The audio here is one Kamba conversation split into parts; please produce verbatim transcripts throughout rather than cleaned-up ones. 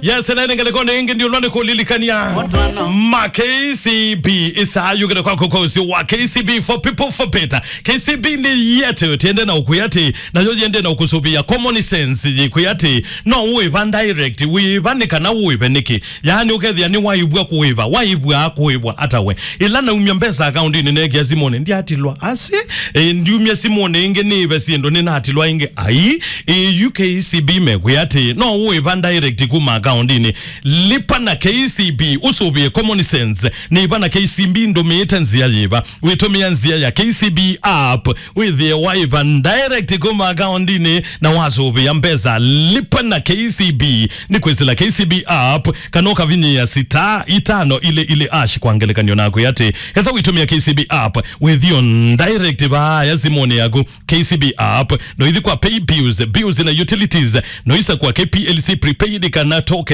Yes, na nĩ ngelekoni ĩngĩ ndiũlwa nĩ kũlilikania ma K C B. Ĩsaa yũkĩte kwaku kwa ũsĩ wa K C B for people for better. K C B nĩ yetu, tiende na ũkwĩa atĩ, nayo yende na ũkũsũvĩa common sense yĩkwĩa atĩ, no ũĩva direct, wĩva nĩ kana ũĩve nĩkĩ. Yaani ũkethĩa nĩ waĩvwa kũĩva, waĩvwa kũĩvwa ata we. Ĩla naumya mbesa akaundinĩ nekĩa simũnĩ, ndiatilwa asi, e, ndiumya simũnĩ ĩngĩ nĩĩve syĩndũ nĩnatilwa ĩngĩ. Ai, e, yu K C B mekwĩa atĩ, no ũĩva direct kuma akaundinĩ. Lipa na K C B, ũsũvĩe common sense. Nĩva na K C B ndũmĩĩte nzĩa yĩva? Wĩtũmĩa nzĩa ya K C B app, wĩthĩe waĩva direct kuma akaundinĩ na wasũvĩa mbesa. Lipa na K C B nĩ kwĩsĩla K C B app kana ũkavinyĩa star itano ile ile hash kwa ngelekany'o nakwĩa atĩ, etha wĩtũmĩa K C B app, wĩthĩo direct vaaya simũnĩ yaku. K C B app, no ithi kwa pay bills, bills na utilities, no isa kwa K P L C prepaid kana tokens.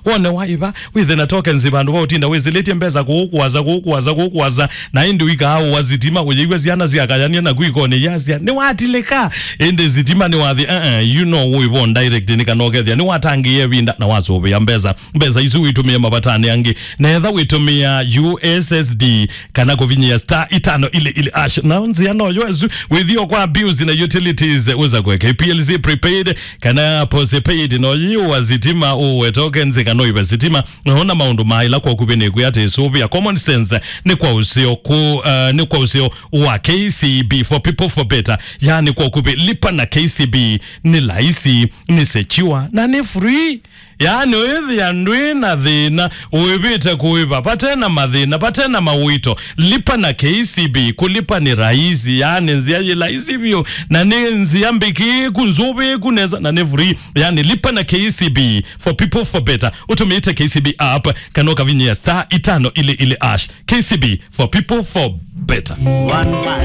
Wone waĩva, wĩthe na tokens vandũ va ũtinda wĩsĩlĩtye mbesa kũũ kũasa, kũũ kũasa, kũũ kũasa, na ĩndĩ ũikaa ũa sitima, ũyĩw'a syana syakayania naku ikonĩ yasya, "Nĩwatilĩka." Ĩndĩ sitima nĩwathi, uh-uh, you know, ũĩvo direct nĩ kana ũkethĩa nĩwatangĩĩe ĩvinda na wasũvĩa mbesa. Mbesa isu wĩtũmĩe mavatanĩ angĩ. Na etha wĩtũmĩa U S S D kana kũvinyĩa star itano ile ile hash. Na nzĩa no yo ĩsu, wĩthĩo kwa bills na utilities, ũsa kwa K P L C prepaid kana postpaid, no yĩũa sitima, ũwe tokens kana ũĩve sitima. Nona maũndũ maĩla kwa ũkuvĩ nĩkwĩa atĩ sũvĩa common sense nĩ kwa ũseo ku, uh, nĩ kwa ũseo wa K C B for people for better. Yaani kwa ũkuvĩ lipa na K C B nĩ laisi, nĩ secure na nĩ free. Yaani ũĩthĩa ndwĩ na thĩna, ũĩvĩte kũĩva vate na mathĩna, vate na mawĩto. Lipa na K C B, kũlipa nĩ rahisi, yaani nzĩa yĩ rahisi vyũ, na nĩ nzĩa mbĩkĩĩku, nzũvĩĩku nesa, na nĩ free. Yaani lipa na K C B for people for better. Ũtũmĩĩte K C B app, kana ũkavinyĩa star itano ile ile hash. K C B for people for better. One man.